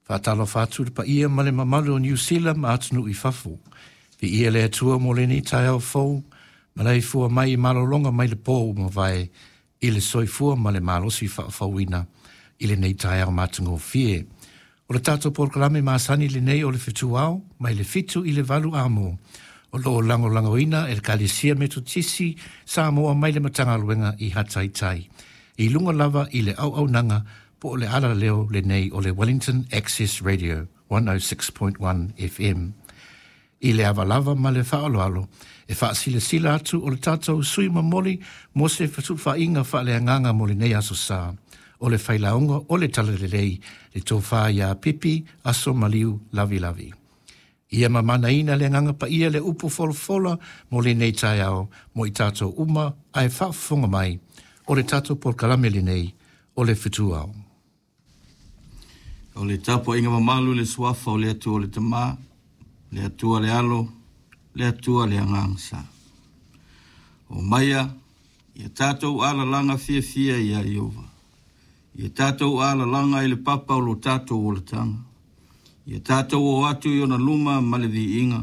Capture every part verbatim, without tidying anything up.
Faatalofa atu i le paia ma le mamalu o Niu Sila ma atunuu i fafo. Viia le Atua mo lenei taeao fou, malaifua mai i malologa mai le po ua mavae i le soifua ma le malosi faafouina i lenei taeao matagofie. O le tatou polokalame masani lenei o le Fetu Ao, mai le fitu i le valu amo, o lo o lagolagoina e le Ekalesia Metotisi Samoa mai le Matagaluega i Hataitai. I luga lava i le auaunaga po o le alaleo lenei o le Wellington Access Radio one oh six point one F M. I le ava lava ma le faaaloalo, e faasilasila atu o le tatou sui momoli mo se fesufaaiga faaleagaga mo lenei aso sa, o le failauga o le Talalelei, le tofa ia Pipi Aso Maliu Lavilavi. Ia mamanaina le Agaga Paia le upu folafola mo lenei taeao mo i tatou uma ae faafofoga mai o le tatou polokalame lenei o le Fetu Ao. O le tapuaiga mamalu i le suafa o le Atua le Tama, le Atua le Alo, le Atua le Agaga Sa. O maia, ia tatou alalaga fiafia ia Ieova. Ia tatou alalaga i le papa o lo tatou olataga. Ia tatou o atu i ona luma ma le viiga.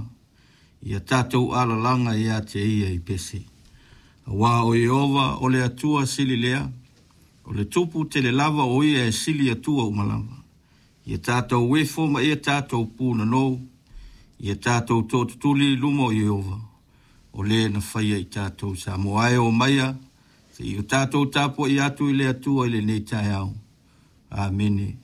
Ia tatou alalaga ia te ia i pese. Auā o Ieova o le Atua sili lea, o le tupu tele lava o ia e sili atua uma lava. Ia tatou ifo ma ia tatou punanou, ia tatou tootutuli i luma o Ieova, o le na faia i tatou Samoa e o maia, se i o tatou tapuai atu i le Atua i lenei taeao. Amene.